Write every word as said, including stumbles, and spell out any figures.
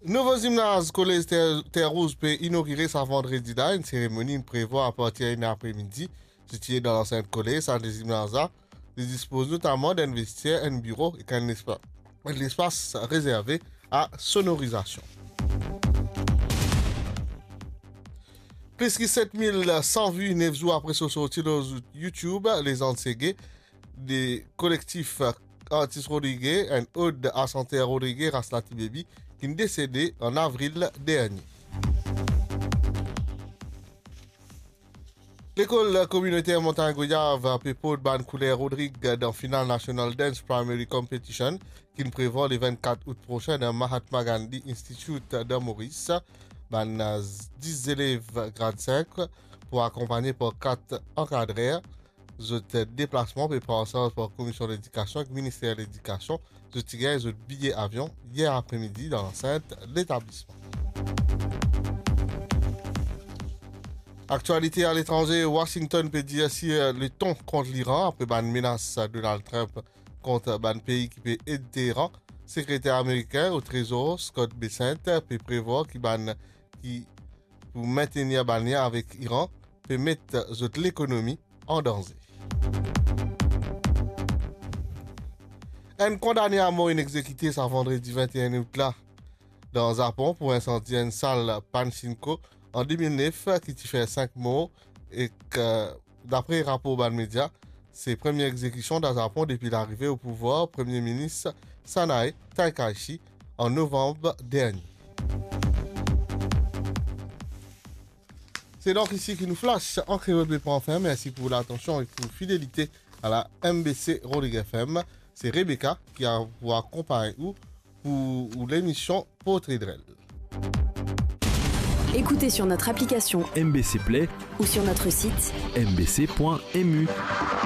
Nouvo zimnaz Kolez Ter, Terre Rouge pe inogire sa vandredi la, enn seremoni inn prevwar apartir enn apremidi, sitiye dan lansint kolez. Sa zimnaz la, li dispoz notaman d'enn vestier, enn biro ek enn lespa-, enn lespas rezerve a sonorizasion. Plis ki set mil san vi, nef zour apre so sorti lor YouTube, Lezann Sege, de kolektif Artis Rodrige, enn od a santer Rodrige, Ras Lati Baby, ki'nn desede an avril dernie. Lekol Kominoter Montagne Goyave pe port bann kouler Rodrig dan final National Dance Primary Competition, ki'nn prevwar le vennkat out prosin dan Mahatma Gandhi Institute dan Moris. Bann, eh, dis zelev grad sink pou akonpagne par kat ankadrer. Zot deplasman pe pran an sarz par Komisyon Ledikasion ek Minister Ledikasion. Zot ti gagn zot biye avion yer apremidi dan lansint letablisman. Aktialite aletranze, Washington pe dir sir le ton kont Liran apre bann menas Donald Trump kont bann pei ki pe ed Teheran. Sekreter amerikin o Trezor, Scott Bessent, pe prevwar ki bann ki pou mentenir bann lien avek Iran pe met zot lekonomi an danze. Enn kondane amor inn egzekite sa vandredi vennteen out la dan Zapon pou insandi enn sal Pachinko an de mil nef ki ti fer sink mor ek, eh, dapre rapor bann media, se premie egzekision dan Zapon depi larive o pouvwar Premie Minis Sanae Takaichi an novanm dernie. Se donk isi ki nou flash an kreol pe pran fin. Mersi pou latansion e pou fidelite a la M B C Rodrigues F M. Se Rebecca ki a, pou akonpagn ou pou lemision Portrait Drôle. Écoutez sur notre application M B C Play ou sur notre site M B C point M U.